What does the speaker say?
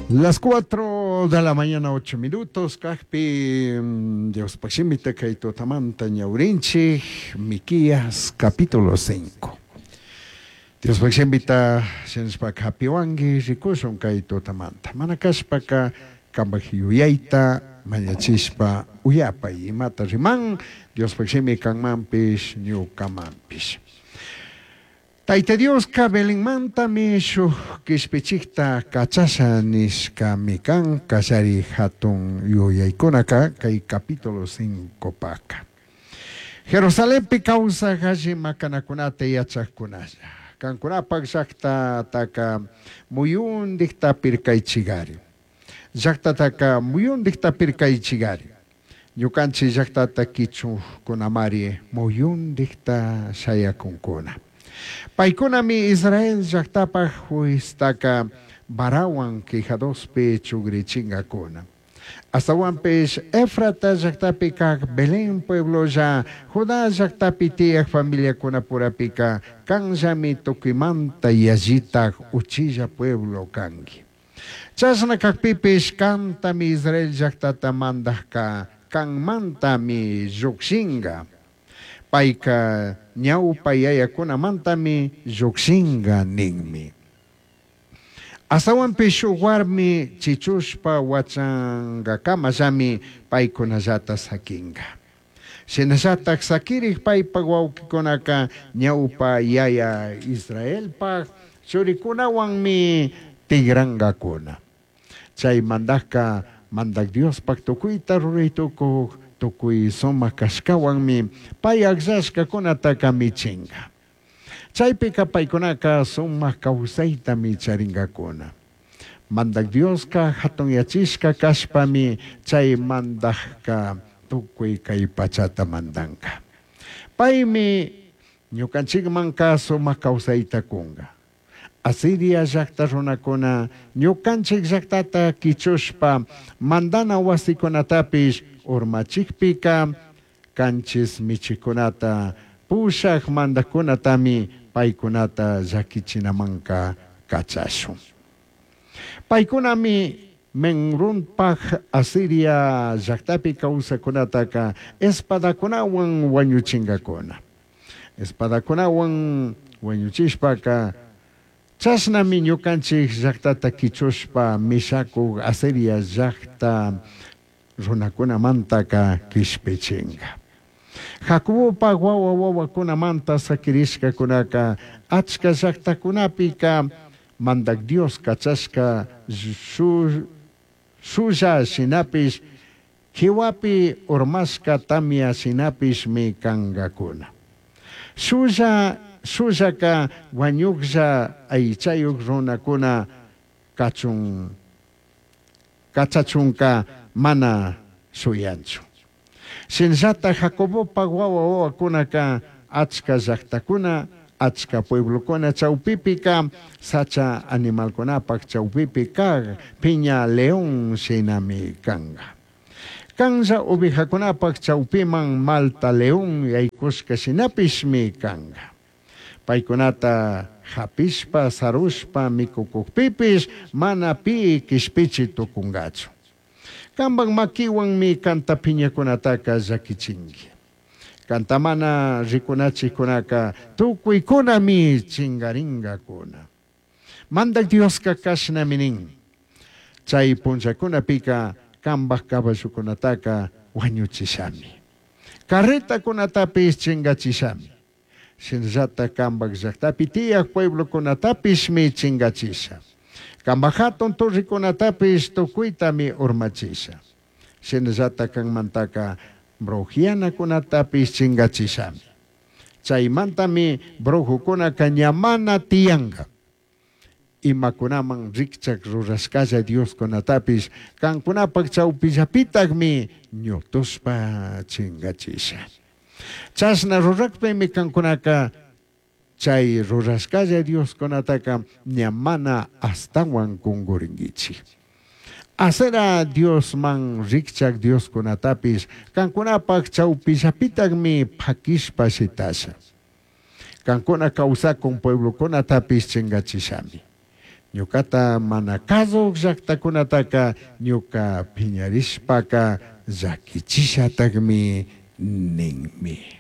Las 4 de la mañana, 8 minutos, cajpi Diospaj shimita kay tutamanta ñawrinchik, Miquías capítulo 5. Diospaj shimita shinashpaka hapiwanki rikushun kay tutamanta. Mana kashpaka kambaj yuyayta mañachishpa uyapay imata riman Diospaj shimi kanmanpish ñukamanpish. Tayta Diosca Belenmantami shuj quishpichijta cachasha nishcami can callari jatun yuyaicunaca cai capítulo 5paca. Jerusalenpi causaj alli macanacunata yachajcunalla, cancunapaj llajtataca muyundijta pircaichigari. Llajtataca muyundijta pircaichigari. Ñucanchij llajtata quichujcunamari muyundijta shayacuncuna. Paicunami Israel llajtapaj jueztaca varahuan quijadospi chugrichingacuna. Ashtahuanpish Efrata llajtapi caj Belén pueblolla Judá llajtapi tiyaj familiacunapurapica canllami tucuimanta yallitaj uchilla pueblo cangui. Chashna cajpipish cantami Israel llajtata mandajca canmantami llujshinga. Paica ñaupa yayacunamantami llujshinga ninmi. Ashtahuanpish shuj huarmi chichushpa huachangacamallami paicunallata saquinga. Shinallataj saquirij paipaj huauquicunaca ñaupa yaya Israelpaj churicunahuanmi tigrangacuna. Chai mandajca Mandaj Diospaj tucuita rurai tucuj tucui sumaj cashcahuanmi pai agllashcacunataca michinga. Chaipica paicunaca sumaj causaitami charingacuna. Mandaj Diosca jatunyachishca cashpami chai mandajca tucui cai pachata mandanga. Paimi ñucanchijmanca sumaj causaita cunga. Asiria llajta runacuna ñucanchij llajtata quichushpa mandana huasicunatapish urmachijpica canchis michijcunata pushaj mandajcunatami paicunata llaquichinamanca cachashun. Paicunami Menrunpaj Asiria llajtapi causajcunataca espadacunahuan huañuchingacuna. Espadacunahuan huañuchishpaca chashnami ñucanchij llajtata quichushpa mishacuj Asiria llajta runacunamantaca quishpichinga. Jacobopaj huahua huahuacunamanta saquirishcacunaca achca llajtacunapica Mandaj Dios cachashca shulla shinapish jihuapi urmashca tamya shinapishmi cangacuna. Shulla shullaca huañujlla aichayuj runacuna cachun cachachunca mana shuyanchu. Shinallata Jacobopaj huahua huahuacunaca achca llajtacuna, achca pueblocuna chaupipica sacha animalcunapaj chaupipi caj piña león shinami canga. Canlla ovejacunapaj chaupiman malta león yaicushca shinapishmi canga. Paicunata japishpa, sarushpa micucujpipish mana pi quishpichi tucungachu. Cambaj maquihuanmi canta piñacunataca llaquichingui. Canta mana ricunachijcunaca tucuicunami chingaringacuna. Mandaj Diosca cashnami nin, Chai punllacunapica cambaj caballocunataca huañuchishami. Carretacunatapish chingachishami. Shinallata cambaj llajtapi tiyaj pueblocunatapishmi chingachisha. Cambaj jatun torrecunatapish tucuitami urmachisha. Shinallata canmantaca brujianacunatapish chingachishami. Chaimantami brujocunaca ña mana tiyanga. Imacunaman rijchaj rurashcalla dioscunatapish cancunapaj chaupillapitajmi ñutushpa chingachisha. Chashna rurajpimi cancunaca chai rurashcalla dioscunataca ña mana ashtahuan cunguringuichij. Asera diosman rijchaj dioscunatapish cancunapaj chaupillapitajmi paquishpa shitasha. Cancuna causacun pueblocunatapish chingachishami. Ñucata mana cazuj llajtacunataca ñuca piñarishpaca llaquichishatajmi ninmi.